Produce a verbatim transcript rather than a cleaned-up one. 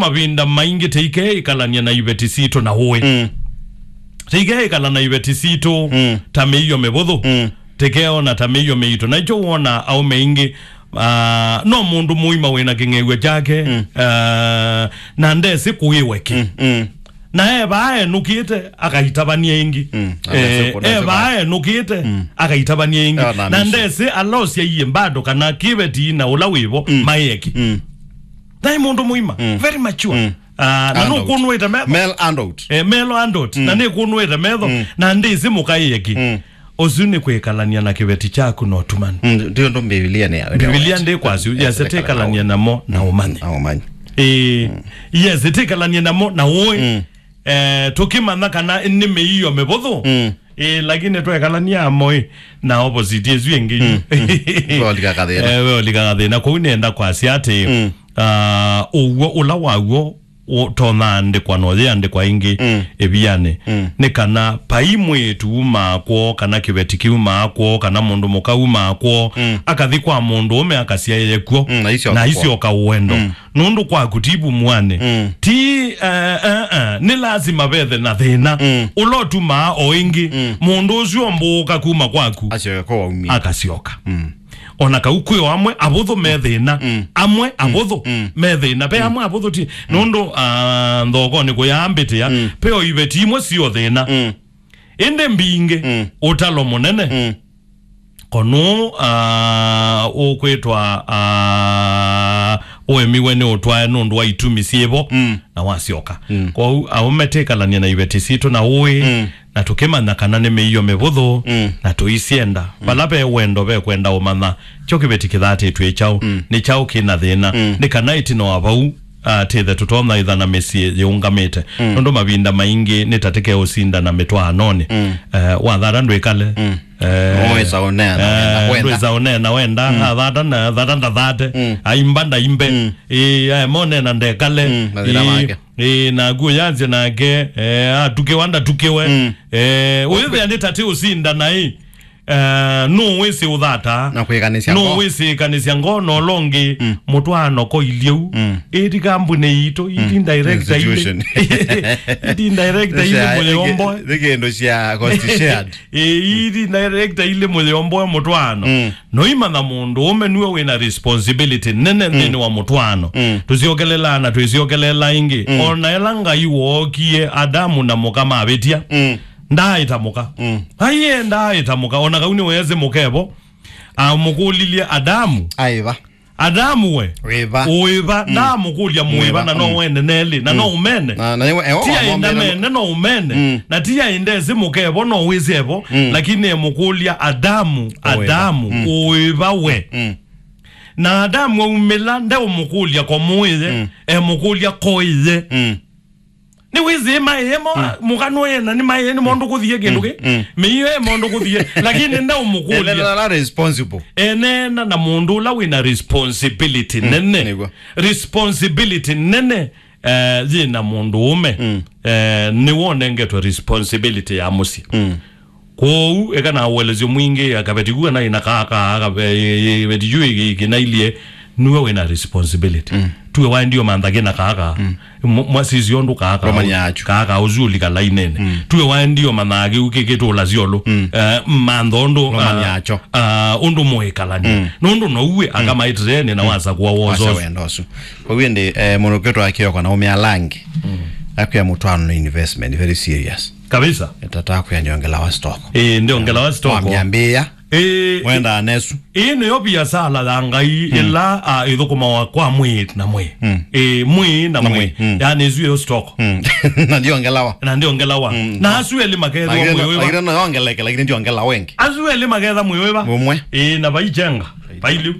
Mavinda maingĩ tĩikeĩkalany'a na iveti sitũ na ũĩ. Mm. Tĩikeĩkala na iveti sitũ Mm. ta mĩio mĩvũthũ. Mm. Tĩkeona ta mĩio mĩito. Na nĩkyo wona aũme aingĩ, ah, no mũndũ mũima wĩna kĩng'ew'o kyake, Mm. ah, na ndesĩ kũĩwe kĩ. Mm, mm. Na e vaa enũkĩte, akaitavany'a ĩngĩ. Mm. Na ndesĩ Eh, kũ-, e ndesĩ vaa kũ- enũkĩte, Mm. akaitavany'a ĩngĩ. Ena Na mission. ndesĩ ala ũsyaie bado kana kĩveti na ũla wĩvo Mm. maĩe kĩ. Mm. Naĩ mũndũ mũima, Mm. very mature. Mm. Ah, na Adult. nũkũnũĩte metho. Male adult. Eh, male adult. Mm. Na nĩkũnũĩte metho, Mm. na ndĩsĩ mũkaĩe kĩ. Mm. Ũsu nĩ kwĩkalany'a na kĩveti kyaku na ũtumanu. Mm, ndio ndo Biblia nĩ ya, Biblia ndĩkwasya, yes, Yes, ĩtĩkalany'a namo na ũmanyi. Na ũmanyi. Eh, yes, ĩtĩkalany'a namo na ũĩ. Mm. Eh, tũkĩmanya kana nĩ mĩio mĩvũthũ. Mm. Eh, lakini twekalany'a amo ĩ, na opposite ĩsu ĩngĩ. Mm, mm. Weolika kathĩna. Eh, weolika kathĩna. Kwoou nĩenda kwasya atĩ, Mm. ah, ũw'o ũla waw'o ũtonaandĩkwa na ũyĩandĩkwa ĩngĩ Mm. ĩvianĩ. Mm. Nĩ kana vai mwĩĩtu umaa kwoo, kana kĩveti kĩumaa kwoo, kana mũndũ mũka umaa kwoo, Mm. akathi kwa mũndũ ũme akasyaĩe kw'o, Mm, na isyoka na kwoo. isyoka ũendo. Mm. Nũndũ kwaku ti vumw'anĩ. Mm. Ti, eh, eh, eh, nĩ lasima vethe na thĩna. Mm. Ũla ũtumaa o ĩngĩ, Mm. mũndũ ũsu ombũũka kuma kwaku. Asyoka kwa waumie. Akasyoka. Mm. O na kau kwĩ o amwe avũthũ me thĩna. Mm. Amwe Mm. avũthũ Mm. me thĩna. Ve Mm. amwe avũthũ ti. Mm. Nũndũ, ah, nthokonĩ kũyaambĩtĩa, Mm. ve o iveti imwe sio thĩna. Mm. Ĩndĩ mbingĩ, Mm. ũtalo mũnene. Mm. Ko nũũ, ah, ũkwĩtwa, ah, ũemiwe nĩ ũtwae nũndũ wa itumi syĩvo Mm. na wasyoka. Mm. Kwoou, aũme tĩkalany'a na iveti sitũ na ũĩ, Mm. na tũkĩmanya kana nĩ mĩio mĩvũthũ, Mm. na tũisyenda. Mm. Vala ve wendo ve kwenda ũmanya, kyo kĩveti kĩthatĩtw'e kyaũ, Mm. nĩ kyaũ kĩ na thĩna, Mm. nĩ kana ĩtina wa vau, ah, tĩthe tũtonya ĩtha na mĩsyĩ yĩũngamĩte. Mm. Nũndũ mavinda maingĩ nĩ ta tĩkeũsinda na mĩtwaanonĩ. Mm. Eh, wathata ndwĩkale. Mm. Eh, Ndwĩsa ũneena eh, wenda, wenda. Ndwĩsa ũneena wenda, Mm. athata na thata ndathate, Mm. aimba ndaimbe. Mm. Ĩĩ, aema ũneena ndekale. Mm, mathĩna Ĩĩ, make. Ĩĩ, naku ũyanzya nake, eh, atukĩwa ndatukĩwe. Mm. Eh, ũyĩthĩa nĩ ta tĩ ũsinda naĩ. Eh, nũũ wĩsĩ ũthata? Na kwĩkanĩsya ngoo. Nũũ wĩsĩ ĩkanĩsya ngoo na ũla ũngĩ Mm. mũtwaano koilyĩ u? Mm. Ĩti kambunĩ yitũ, iti Mm. director ilĩ. Institution. Iti director ilĩ Cia-, mũyomboe. Nĩ kĩndũ cia cost shared. Ĩĩ, iti director ilĩ mũyomboe mũtwaano. Mm. Noimanya mũndũ ũme nue wĩna responsibility nene Mm. nthĩnĩ wa mũtwaano. Mm. Tũsyokelelaa na twĩsyokelela ĩngĩ. Mm. Ona ĩla Ngai wookie Adamu na mũka mavĩtya, Mm. ndaaĩta mũka. Mm. Aiye ndaaĩta mũka. Ona kau nĩweesĩ mũkevo, amũkũlilye Adamu. Aĩva. Adamu we. Wĩva. Ũĩva. Mm. Ndaamũkũlya mũĩva Mũĩva. na no Mm. wene nelĩ, na Mm. no ũmene. Na, na, ewa, Ti aĩ ndamene, no ũmene. Mm. Na ti aĩ ndesĩ mũkevo, no wĩsyevo. Mm. Lakini emũkũlya Adamu, Ũĩva. Adamu, Mm. ũĩva we. Mm. Na Adamu aumĩla, ndeũmũkũlya ko mũĩye, Mm. emũkũlya ko ĩye. Mm. Nĩwĩsĩ maĩe mo, Mm. mũka nũyena nĩ maĩe nĩ mondũ kũthie kĩndũ Mm. kĩ. Mm. Mĩio e mondũ kũthie, lakini ndeũmũkũlya. Elelala responsible. Eneena na mũndũ ũla wĩna responsibility Mm. nene. Nĩguo. Responsibility nene, eh, yĩna mũndũ ũme. Mm. Eh, nĩwe ũnengetwe responsibility ya mũsyĩ. Mm. Kwoou, eka na ũelesyo mwingĩ, akaveti kuwa na ina kaka, akaveti yu kinailye, nue wĩna responsibility. Mm. Tuwe waendio mantha kĩna kaka, Mm. mwa-, mwasisi ũndũ kaka, Romani yachu. kaka ũsu ũlika lainene. Mm. Tuwe waendio mantha kĩu kĩkĩtũla syolũ. Mm. Eh, mantha ũndũ, Romani ah, yacho. ah, ũndũ mũĩkalani. Mm. Nũndũ no uwe Mm. akamaitene na Mm. wasa kuwa Wasa wozo. wenda ũsu. Kwa hiyo ndi, eh, mũndũ kwĩtwa Kioko na ũmĩa langi. Mm. Akwĩa mũtwaano nĩ investment, very serious. Kabisa. Ĩtata kwĩa ndiongela wa stock. Eh, ndiongela wa stock. Wamyambia. Eh, Wenda nesu. Ĩĩ nĩyo biasala ya Ngai Mm. ĩla, ah, ĩthũkũmawa kwa mwĩĩ na mwĩĩ. Mm. Ĩĩ, mwĩĩ na Na mwĩĩ. mwĩĩ, mm. Yaani ĩsu ĩyo stock. Mm. Na ndiongelawa. Na ndiongelawa. Mm. Na asu elĩ makethwa Lakini, mwĩĩ wĩva. lakini no yongeleke, lakini ndiongela wengi. Asu elĩ maketha mwĩĩ wĩva. Ũmwe. Ĩĩ, na vaichenga. Vailiu.